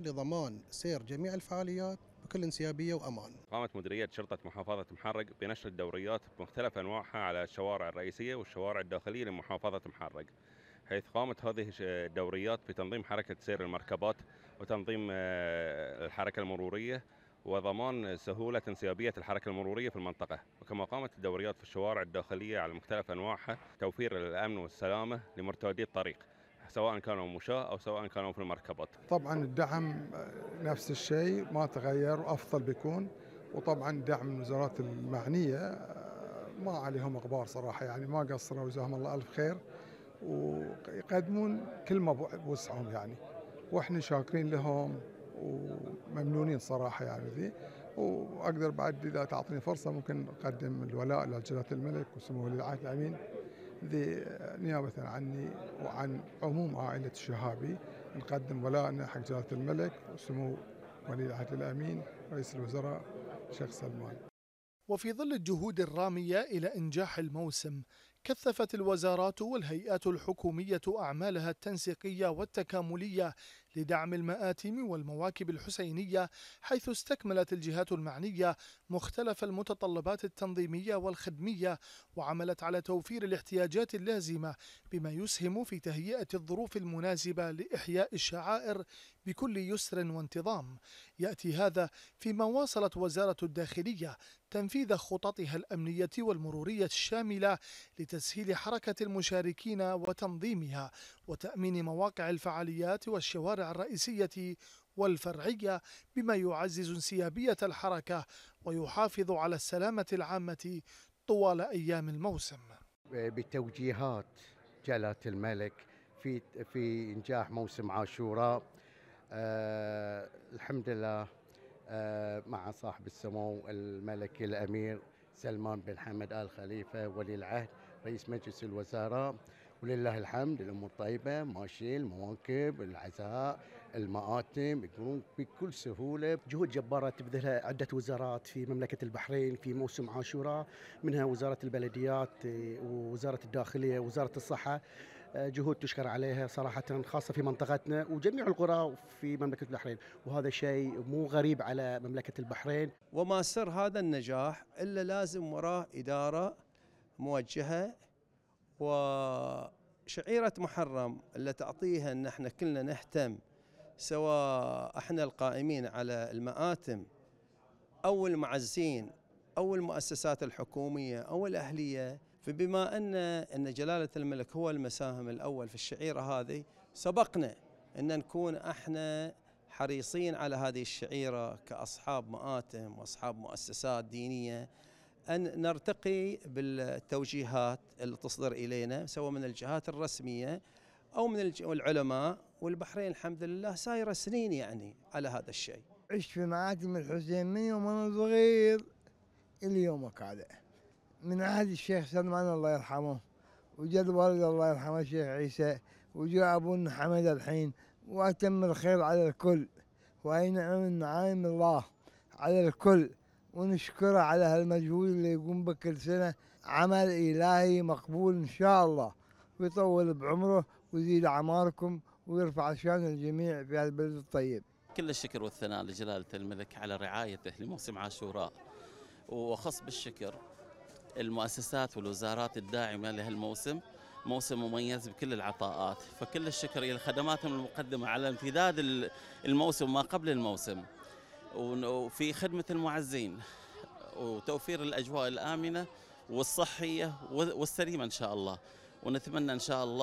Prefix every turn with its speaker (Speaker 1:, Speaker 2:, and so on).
Speaker 1: لضمان سير جميع الفعاليات بكل انسيابية وأمان.
Speaker 2: قامت مديرية شرطة محافظة محرق بنشر الدوريات بمختلف أنواعها على الشوارع الرئيسية والشوارع الداخلية لمحافظة محرق، حيث قامت هذه الدوريات بتنظيم حركة سير المركبات وتنظيم الحركة المرورية وضمان سهولة انسيابية الحركة المرورية في المنطقة. وكما قامت الدوريات في الشوارع الداخلية على مختلف أنواعها توفير الأمن والسلامة لمرتادي الطريق، سواء كانوا مشاة أو سواء كانوا في المركبات.
Speaker 3: طبعا الدعم نفس الشيء ما تغير وأفضل بيكون، وطبعا دعم الوزارات المعنية ما عليهم غبار صراحة، يعني ما قصروا جزاهم الله ألف خير، ويقدمون كل ما بوسعهم يعني، واحنا شاكرين لهم وممنونين صراحة يعني ذي. وأقدر بعد إذا تعطيني فرصة ممكن أقدم الولاء لجلالة الملك وسمو ولي العهد الأمين ذي نيابة عني وعن عموم عائلة الشهابي، نقدم ولاءنا حق جلالة الملك وسمو ولي العهد الأمين رئيس الوزراء الشيخ سلمان.
Speaker 4: وفي ظل الجهود الرامية إلى إنجاح الموسم، كثفت الوزارات والهيئات الحكومية أعمالها التنسيقية والتكاملية لدعم المآتم والمواكب الحسينية، حيث استكملت الجهات المعنية مختلف المتطلبات التنظيمية والخدمية، وعملت على توفير الاحتياجات اللازمة بما يسهم في تهيئة الظروف المناسبة لإحياء الشعائر بكل يسر وانتظام. يأتي هذا فيما واصلت وزارة الداخلية تنفيذ خططها الأمنية والمرورية الشاملة لتسهيل حركة المشاركين وتنظيمها وتأمين مواقع الفعاليات والشوارع الرئيسية والفرعية، بما يعزز انسيابية الحركة ويحافظ على السلامة العامة طوال أيام الموسم.
Speaker 5: بتوجيهات جلالة الملك في إنجاح موسم عاشوراء، الحمد لله مع صاحب السمو الملك الأمير سلمان بن حمد آل خليفة ولي العهد رئيس مجلس الوزراء، ولله الحمد الأمور طيبة ماشي، المواكب العزاء المآتم يكونون بكل سهولة.
Speaker 6: جهود جبارة تبذلها عدة وزارات في مملكة البحرين في موسم عاشوراء، منها وزارة البلديات ووزارة الداخلية ووزارة الصحة، جهود تشكر عليها صراحة، خاصة في منطقتنا وجميع القرى في مملكة البحرين، وهذا شيء مو غريب على مملكة البحرين.
Speaker 7: وما سر هذا النجاح إلا لازم وراه إدارة موجهة، وشعيرة محرم اللي تعطيها أن احنا كلنا نهتم، سواء احنا القائمين على المآتم أو المعزين أو المؤسسات الحكومية أو الأهلية. فبما أن جلالة الملك هو المساهم الأول في الشعيرة هذه، سبقنا أن نكون احنا حريصين على هذه الشعيرة كأصحاب مآتم وأصحاب مؤسسات دينية، أن نرتقي بالتوجيهات اللي تصدر إلينا سواء من الجهات الرسمية أو من العلماء. والبحرين الحمد لله سايرة سنين يعني على هذا الشيء.
Speaker 8: عشت في مآتم الحسين من يوم أنا صغير إلى يومك هذا، من عهد الشيخ سلمان الله يرحمه، وجد والد الله يرحمه الشيخ عيسى، وجاء أبونا حمد الحين، وأتم الخير على الكل، وأي نعم النعائم الله على الكل، ونشكره على هالمجهود اللي يقوم به كل سنة، عمل إلهي مقبول إن شاء الله، ويطول بعمره ويزيد أعماركم ويرفع شان الجميع في هالبلد الطيب.
Speaker 9: كل الشكر والثناء لجلالة الملك على رعايته لموسم عاشوراء، وأخص بالشكر المؤسسات والوزارات الداعمة لهالموسم، موسم مميز بكل العطاءات، فكل الشكر إلى خدماتهم المقدمة على امتداد الموسم ما قبل الموسم، وفي خدمة المعزين وتوفير الأجواء الآمنة والصحية والسليمة إن شاء الله. ونتمنى إن شاء الله